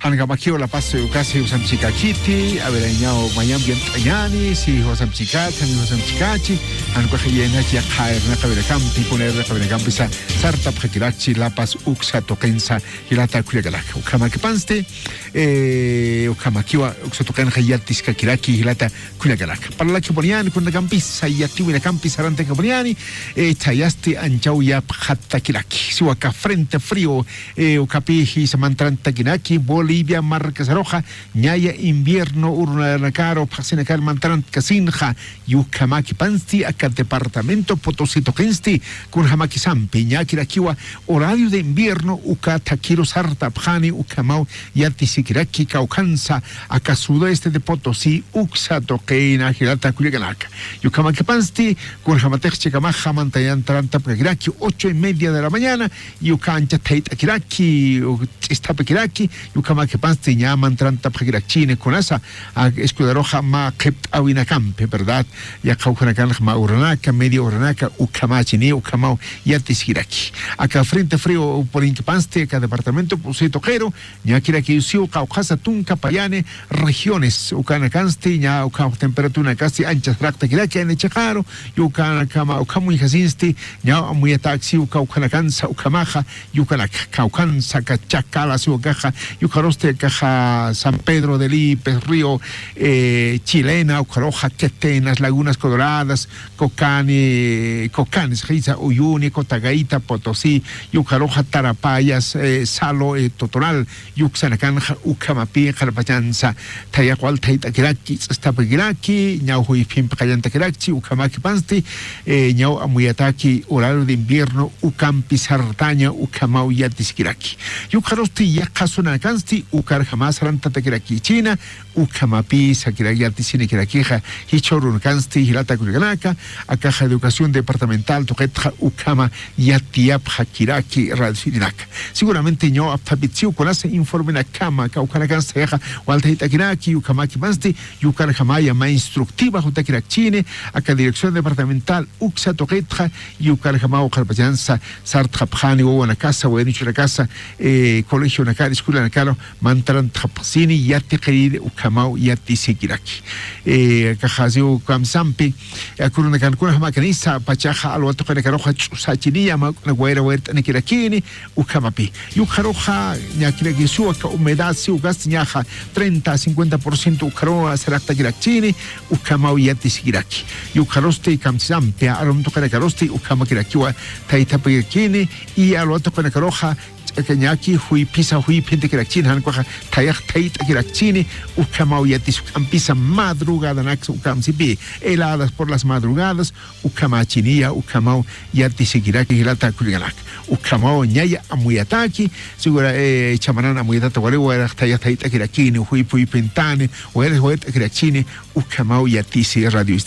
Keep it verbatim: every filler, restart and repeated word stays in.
Jankamakiw La Paz, ukasi jusamchikakiti, a ver, ñaw mayamp yant'añani, si jusamchikati, jan jusamchikachi, jan ukax yänach yaqha irnaqawinakampi, kuna irnaqawinakampisa sartapxakirakchi La Paz uksa tuqinsa, jilata kullakanaka. Ukhamakipansti, eh, ukhamakiwa uksa tuqinxa yatiskakiraki, jilata kullakanaka. Parlakipuniñäni kunanakampisa, yatiwinakampisa sarantakipuniñäni, eh, thayasti anchaw yapxatakiraki. Siwa aka frente frío, eh, ukapi jisa mantarantakinaki, Bolivia markasaruxa, ñaya invierno urunakaru phaxsinakar mantarantasinxa, ukhamakipansti aka departamento Potosí tuqinsti, kunjamakisampi, ñakirakiwa horario de invierno, uka thakiru sartapxani, ukhamaw yatisikiraki kawkhansa, aka sudeste de Potosí, uksa tuqina jilata kullakanaka. Ukhamakipansti, kunjamatix chikamaxa mantarantarakiraki ocho y media de la mañana, uka ancha thayt'akiraki, ch'istapakiraki, ukhamakipansti ña mantarantapxakirakchini kunasa, a, escuelaruxa mä qhipt'awinakampi, ¿verdad? Yaqha ukhanakanxa mä uranaka, media uranaka, ukhamachini, ukhamaw yatisikiraki. Aka frente frío purinkipansti, aka departamento Potosí tuqiru, ñakirakiw siw qawqhasa tunka payani regiones, ukanakansti, ña ukhaw temperaturanakasti ancha saraqtakiraki, ani chiqaru, ukanakama, ukham uñjasinsti, ña amuyatäksi uka ukhanakansa, ukhamaxa, ukanaka, kawkhansa, aka Chacala siwa akaxa, ukarusti akaxa San Pedro de Lipes, Río, eh, Chilena, ukaruxa Quetenas, Lagunas Coloradas, Cocani, Cocanes, jisa Uyuni, Cotagaita, Potosí, ukaruxa Tarapayas, eh, Salo, eh, Totoral, uksanakanxa ukhamapi qharpachansa, thayax wal thayt'akiraki, ch'istapakiraki, ñaw juyphimpi qallantakirakchi, ukhamakipansti, eh, ñaw amuyataki horario de invierno, ukampi sartaña, ukhamaw yatisikiraki. Ukarusti yaqha zonakansti, ukarjama sarantatakirakichina, ukhamapi sakirak yatisinikirakixa, jichhürunakansti, jilata kullakanaka, akaxa educación departamental tuqitxa ukhama yatiyapxakiraki radiosirinaka. Seguramente ñaw apthapit siw kunasa informenakama, kawkhanakansti thayaxa wal thayt'akiraki, ukhamakipansti, ukarjamaya mä instructiva jutakirakchini, aka dirección departamental uksa tuqitxa, ukarjamaw qharpachansa sartxapxani wawanakasa, wayanuchunakasa, eh, colegionakar, escuelanakaru, mantarantxapxsini, yatiqiriri, ukhamaw yatisikiraki. Eh, akaxa siw kamsampi, eh, kurunakankunxa mä kanisa, pachaxa alwa tuqinakaruxa ch'usachiniya, mä wayra wayrt'anikirakini, ukhamapi. Ukaruxa, ñakirakiw siw aka humedad, siw ukasti ñaxa treinta a cincuenta por ciento ukaruw saraqtakirakchini, ukhamaw yatisikiraki. Ukarusti kamsampi, arum tuqinakarusti, ukhamakirakiwa thaythapakirakini, y alwa tuqinakaruxa, ch'aka ñaki juyphisa juyphintakirakchini, jan ukaxa thayax thayt'akirakchini, ukhamaw yatis ukampisa madrugadanaksa ukamsipi, heladas por las madrugadas, ukhamachiniya, ukhamaw yatisikiraki jilata kullakanaka. Ukhamaw ñaya amuyataki, segura, eh, chamanan amuyatata wali, wayrax thayax thayt'akirakini, juyph juyphintani, wayrax wayrt'akirakchini, ukhamaw yatisi radio